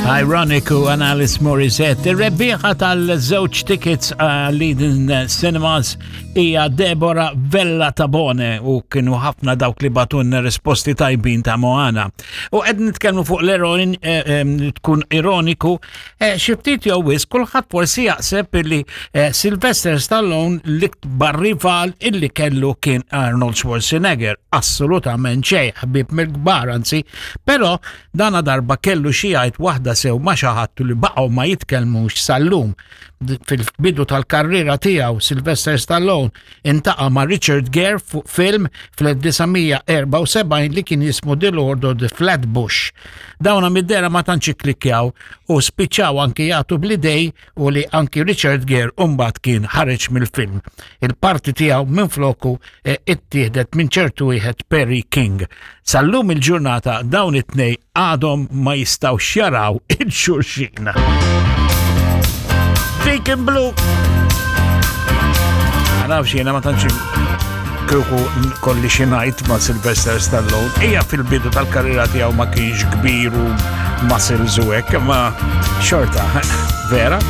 Ironic u Analis Morissette. Ir-rebbieħa tal-żewġ tickets għal Eden Cinemas hija Deborah Vella Tabone u kienu ħafna dawk li batunna risposti tajbin ta' Moana. U qed nitkellmu fuq l-eroin eh, eh, tkun ironiku, eh, xi ftit jew wisq kulħadd forsi jaqseb illi Sylvester Stallone l-ikbar rival illi kellu kien Arnold Schwarzenegger. Assolutament xejn, ħbib mill-kbar anzi, però Dana darba kellu xi jgħid waħda sew ma' xi ħadd li baqgħu ma jitkellmux sal-lum. Fil-bidu tal-karriera tiegħu Sylvester Stallone intaqa' ma' Richard Gere fuq film fl-1974 li kien jismu The Lord of the Flatbush. Dawna mid-dehra ma tantx ikklikkjaw u spiċċaw anki jagħtu bl-idej u li anki Richard Gere mbagħad kien ħareġ mill-film. Il-parti tiegħu minfloku eh, ittieħdet minn ċertu wieħed Perry King. Sal-lum il-ġurnata dawn it-tnej għadhom ma jistgħux jaraw il-xulxin. Deacon Blue. Ma nafx jiena ma tantx kieku kolli xi ngħid ma' Sylvester Stallone. Ejja fil-bidu tal-karriera tiegħu ma kienx kbir u muscles u hekk, ma xorta, vera?